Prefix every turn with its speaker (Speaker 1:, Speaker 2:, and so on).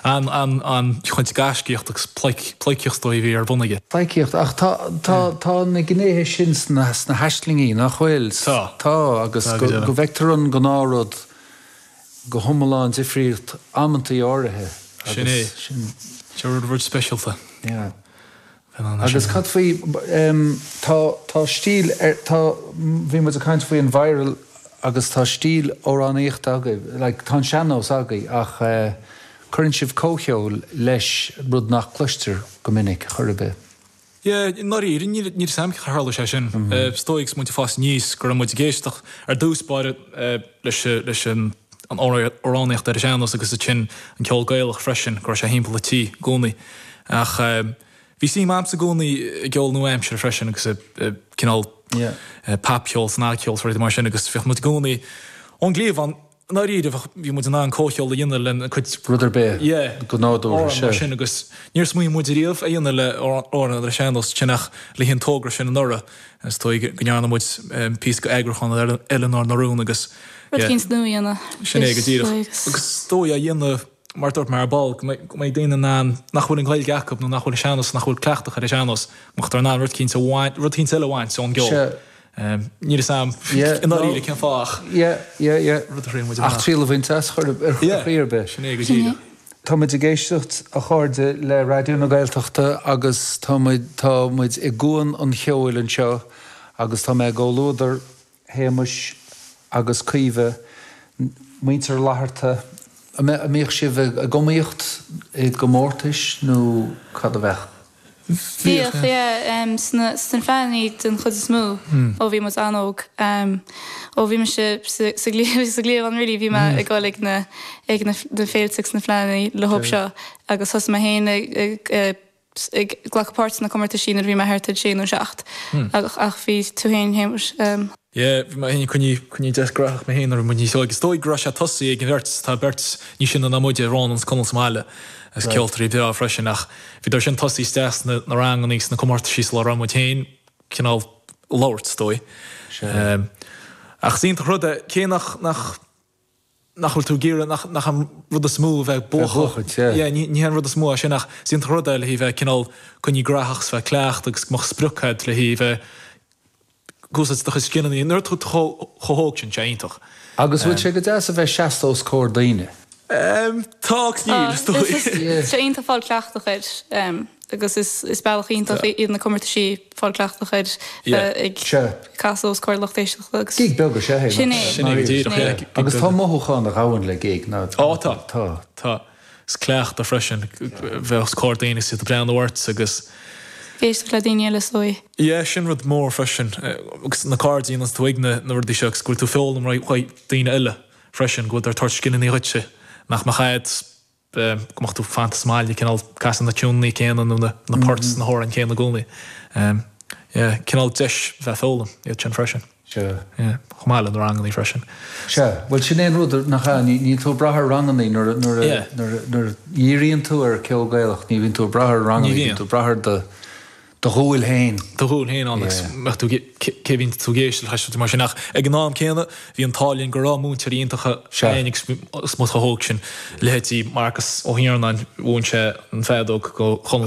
Speaker 1: An, an, an-chuid gaiscíocht agus pleidhcíocht is dóigh a bhí ar bun aige.
Speaker 2: Pleidhcíocht, ach tá, tá, tá na gnéithe sin sna, sna haislingí, nach bhfuil?
Speaker 1: Tá.
Speaker 2: Tá, agus go, go bhfeictear an gnáthrud go hiomlán difriúil amantaí áirithe.
Speaker 1: Sin é. Sin. Sin rud, rud speisialta.
Speaker 2: Yeah. Agus cad faoi, tá, tá stíl ar, tá, bhí muid ag caint faoi an viral agus tá stíl amhránaíochta agaibh, like tá an sean-nós agaibh ach cuireann sibh comhcheol leis, rud nach gcloistear go minic chor ar bith.
Speaker 1: Yeah, i ndáiríre, níl a fhios a'm cén chaoi ar tharla sé sin. Is dóigh agus muid ag fás aníos go raibh muid ag éisteacht ar dtús báire leis, leis an amhránaíocht ar an sean-nós agus ansin an ceol Gaelach freisin, go raibh sé thimpeall an tí i gcónaí. Ach bhí suim a'msa i gcónaí i gceol nua-aimseartha freisin agus i cineál popcheol, snagcheol is rudaí mar sin agus bhíodh muid i gcónaí ón gcliabhán, i ndáiríre bheadh, bhí muid in ann comhcheol a dhéanamh lena cuid
Speaker 2: Rud ar bith,
Speaker 1: yeah,
Speaker 2: go nádúrtha,
Speaker 1: amhrán mar sin agus níor smaoinigh muid ariamh a dhéanamh le amhrán ar an sean-nós sin ach le haghaidh an togra sin anuraidh is dóigh go ndearna muid píosa d'eagrúchán ar Eileanóir na Rún agus
Speaker 3: Rud eicínt nua a dhéanamh.
Speaker 1: Sin é go díreach. Agus is dóigh a dhéanamh mar a dúirt mé ar ball, go mbeidh daoine in ann, nach bhfuil an Ghaeilge acu nó nach bhfuil an sean-nós, nach bhfuil cleachtach ar an sean-nós, go mbeadh in ann rud eicínt a bhaint, rud eicínt eile a bhaint ón gceol. Níl a fhios a'm i ndáiríre cén fáth ach
Speaker 2: rud a thriail muid amach. Ach triail a bhaint as chor ar chaoi ar bith.
Speaker 1: Sin é go díreach.
Speaker 2: Tá muid ag éisteacht, a chairde, le Raidió na Gaeltachta agus tá muid, tá muid i gCuan an Cheoil anseo agus tá mé i gcomhluadar Shéamais agus Caoimhe, muintir Fhlatharta, an mbíodh sibh ag iomaíocht i gcomórtais nó cad a bheadh?
Speaker 3: Bhíodh, yeah, sna fleánna den chuid is mó ó bhí muid an-óg. Ó bhí mise sa gcliabhán really bhí mé ag dul ag na ag na féilte agus na fleánna leo seo agus thosaigh mé féin ag ag glacadh páirt sna comórtaisí nuair a bhí mé thart ar sé nó seacht ach bhí tú féin Shéamais.
Speaker 1: Yeah, bhí mé féin ag coinní, coinní deas graitheach mé féin nuair a bhí muid níos óige. Is dóigh go raibh sé tosaithe ag an bheirt, tá beirt níos sine ná muide, Rónán is Conall sa mbaile, is ceoltóirí breá freisin ach bhíodar sin tosaithe isteach sna na ranganna sna comórtaisí sula raibh muid féin cineál labhairt, is dóigh. Ach is iontach rud é, cé nach, nach, nach bhfuil tú ag iarraidh, nach, nach an rud is mó a bheith ag buachan. Yeah, ní, ní hé an rud is mó é sin ach is iontach rud é le haghaidh bheith cineál coinní graitheach is bheith cleachtadh agus go mbeadh sprioc agat le haghaidh bheith ag úsáid do chuid scileanna. Nuair atá tú chomh, chomh hóg sin, sé iontach.
Speaker 2: Agus bhfuil sé go deas a bheith seasta os comhair daoine?
Speaker 1: Tá agus níl, is dóigh.
Speaker 3: Tá sé iontach fáil cleachtadh air. Agus is bealach iontach iad na comórtaisí fáil cleachtadh air bheith ag casadh os comhair lucht éisteachta
Speaker 2: agus. Gig beag is ea
Speaker 3: é. Sin é.
Speaker 1: Sin é go díreach, yeah.
Speaker 2: Agus tá mothúchán a ghabhann le gig, ná.
Speaker 1: Ó tá. Tá. Tá. Is cleachtadh freisin bheith os comhair daoine is iad ag breathnú ort agus.
Speaker 3: Éisteacht le daoine eile is dóigh.
Speaker 1: Yeah, sin rud mór freisin. Agus na cairde a dhéananns tú ag na rudaí seo agus go bhfuil tú ag foghlaim ó daoine eile freisin, go bhfuil ag tabhairt scileanna dhuitse nach mbeadh a'd. go mbeadh tú fanta sa mbaile cineál casadh na tiúineanna céanna nó na poirt sna hamhráin céanna i gcónaí. Yeah, cineál deis bheith ag foghlaim iad sin freisin.
Speaker 2: Sea.
Speaker 1: Yeah, chomh maith le na rangannaí freisin.
Speaker 2: Sea, bhuel sin é an rud nach ea, níl tú ag brath ar rangannaí nuair nuair a nuair a nuair a dhíríonn tú ar ceol Gaelach ní bhíonn tú ag brath ar rangannaí, bíonn tú ag brath ar do Do dhúil féin.
Speaker 1: Do dhúil féin ann agus mbeadh tú cé a bhíonn tú ag éisteacht leis rudaí mar sin ach ag an am céanna bhí an t-ádh linn go raibh múinteoirí iontacha againn agus muid chomh hóg sin, leithéidí Marcus Ó hIarnáin, mhúin sé an feadóg do Chonall.